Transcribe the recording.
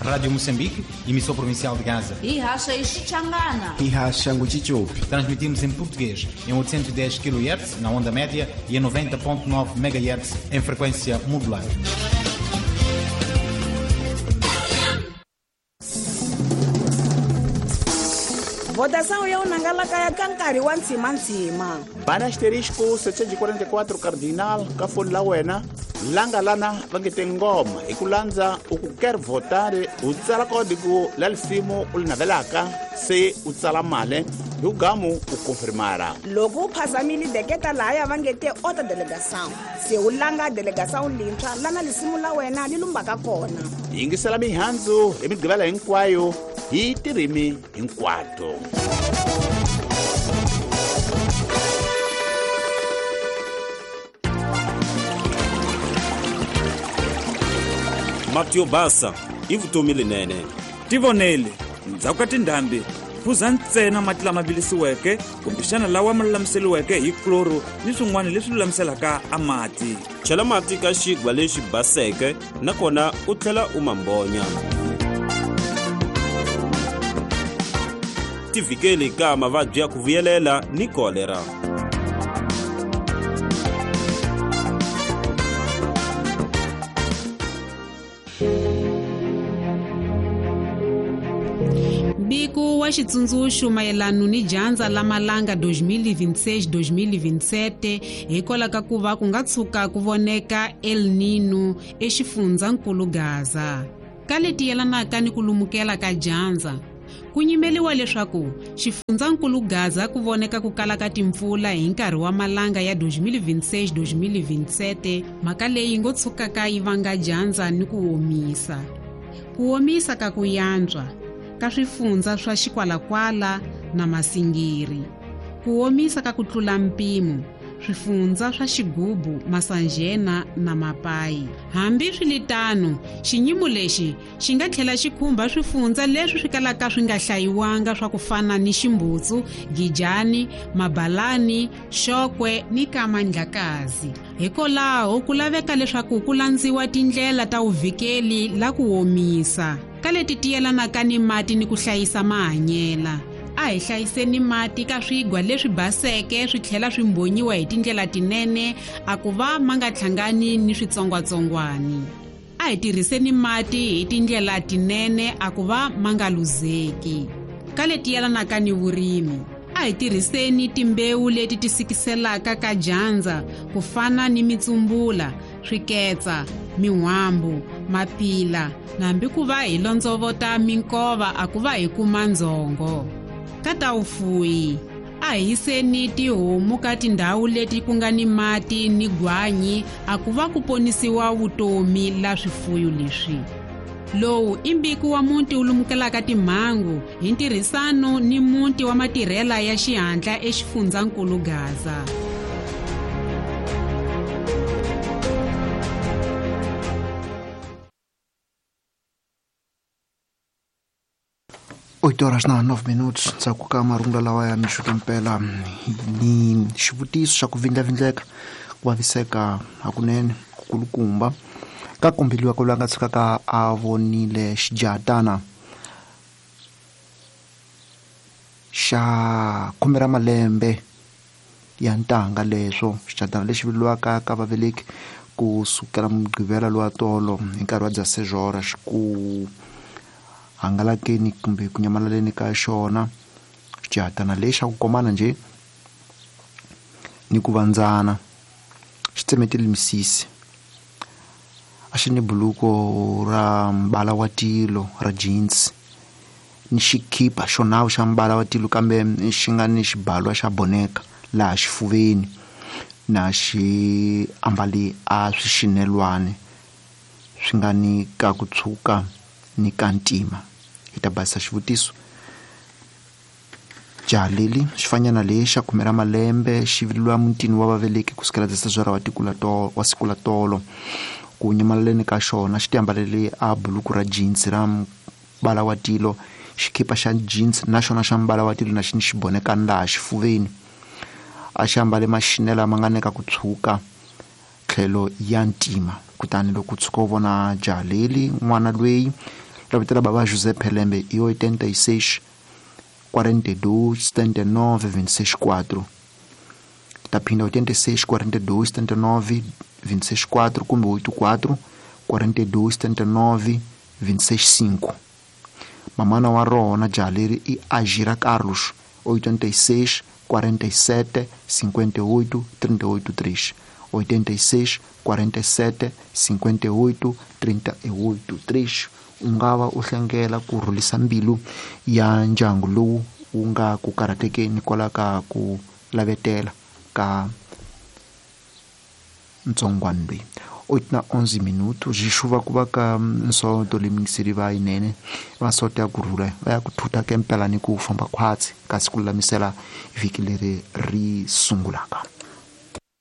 Rádio Moçambique, emissão provincial de Gaza. Ihaxa Xichangana. Ihaxa Nguchichopi. Transmitimos em português em 810 kHz na onda média e em 90.9 MHz em frequência modular. Votação ya unangalaka ya kankari wa ntsima-ntsima. Bana asterisco 744 cardinal ka foni la wena langa lana va nge tingoma hi ku landza u ku ker votar u tsala kodiku la lisimu u li navelaka se u tsala male hi ugamu u konfirmara. Loko u phazamile deketa lahaya va nge te ota delegação se u langa delegação lintshwa lana lisimu la wena li lumbaka kona. Yingisela mihandzu hi migqivela hinkwayo hi tirimi hinkwato. Mati yo basa i vutomi lenene. Tivonele, ndzhaku ka tindhambi phuza ntsena mati lama vilisiweke kumbexana lawa ma lulamiseriweke hi kloro ni swin'wana leswi lulamiselaka a mati. Chela mati ka xigwa lexi baseke nakona u tlhela u ma mbonya. Tivhikeli ka mavabyi ya ku vuyelela ni kolera. Mbiko wa xitsundzuxo mayelano ni dyandza la malanga 2026-2027 hikwalaho ka ku va ku nga tshuka ku voneka El Nino exifundzankulu Gaza. Ka leti yelanaka ni ku lumukela ka dyandza, ku nyimeliwa leswaku xifundzankulu Gaza ku voneka ku kala ka timpfula hi nkarhi wa malanga ya 2026-2027, mhaka leyi ngo tshukaka yi vanga dyandza ni ku omisa. Ku omisa ka ku yantswa ka swifundza swa Xikwalakwala na Masingiri. Ku omisa ka ku tlula mpimo swifundza swa Xigubu, Masanjena na Mapayi. Hambi swiritano, xinyimo lexi xi nga tlhela xi khumba swifundza leswi swi kalaka swi nga hlayiwanga swa ku fana ni Ximbutsu, Gijani, Mabalani, Xokwe ni Kamandlakazi. Hikwalaho ku laveka leswaku ku landziwa tindlela ta vuvikeli la ku omisa ka leti ti yelanaka ni mati ni ku hlayisa mahanyela. A hi hlayiseni mati ka swigwa leswi baseke swi tlhela swi mbonyiwa hi tindlela tinene a ku va ma nga hlangani ni switsongwatsongwani. A hi tirhiseni mati hi tindlela tinene a ku va ma nga luzeki. Ka leti yelanaka ni vurimi, a hi tirhiseni timbewu leti ti sikiselaka ka dyandza ku fana ni mitsumbula, swiketsa, min'wambu, mapila, nambi ku va hi londzovota minkova a ku va hi kuma ndzhongo. Ka ta vufuwi, a hi yiseni tihomu ka tindhawu leti ku nga ni mati ni gwanyi a ku va ku ponisiwa vutomi la swifuyo leswi. Lowu i mbiko wa muti wu lumukelaka timhangu hi ntirhisano ni muti wa matirhela ya xihatla exifundzankulu Gaza. Oito horas na 9 minutos ndzhaku ka marungula lawa ya mixo mpela ni xivutiso xa ku vindlavindleka ku vaviseka hakunene kukulukumba ka kombeliwa ku lwa nga tshukaka a vonile xijahatana xa khume ra malembe ya ntanga leswo xijahatana lexi vuriwaka ka vaveleki ku sukela mugqivela lowa tolo hi nkarhi wa dzasejora xi ku hangalakeni kumbe ku nyamalaleni ka xona. Xijahatana lexi xa ku komana njhe ni ku vandzana xi tsemetile misisi, a xi ni buluko ra mbala wa tilo ra jeans ni xikipa xo nawu xa mbala wa tilo kambe xi nga ni xibalwa xa boneka laha xifuveni na xi ambali a swixinelwani swi nga ni ka ku tshuka ni ka ntima. Hi ta basisa xivutiso. Jaha leli xifanyana lexi xa khume ra malembe xi vileliwa mutini wa vaveleki ku sukela dzasejora wa siku la tolo. Ku nyamalaleni ka xona xi tiambalele a buluku ra jeans ra mbala wa tilo, xikipa xa jeans na xona xa mbala wa tilo na xi ni xibonekani laha xifuveni. A xi ambale maxinela ma nga neka ku tshuka tlhelo ya ntima. Kutani loko u tshuka u vona jaha leli n'wana lweyi Ra vito ra bava José Pelembe i 86 42 79 26 4. Ta phinda 86 42 79 26 4 kumbe 84 42 79 26 5. Mamana wa rona jaha leri i Agira Carlos 86 47 58 38 3. 86 47 58 38 3. U nga va u hlengela ku rhulisa mbilu ya ndyangu lowu wu nga ku karhatekeni kwala ka ku lavetela ka ntsongwana loyi. 8:11 minutos xixuva ku va ka nsoto lemingiseri va yinene va nsoto ya kurhula va ya ku thutha kempela ni ku famba khwatsi kasi ku lulamisela vhiki leri ri sungulaka.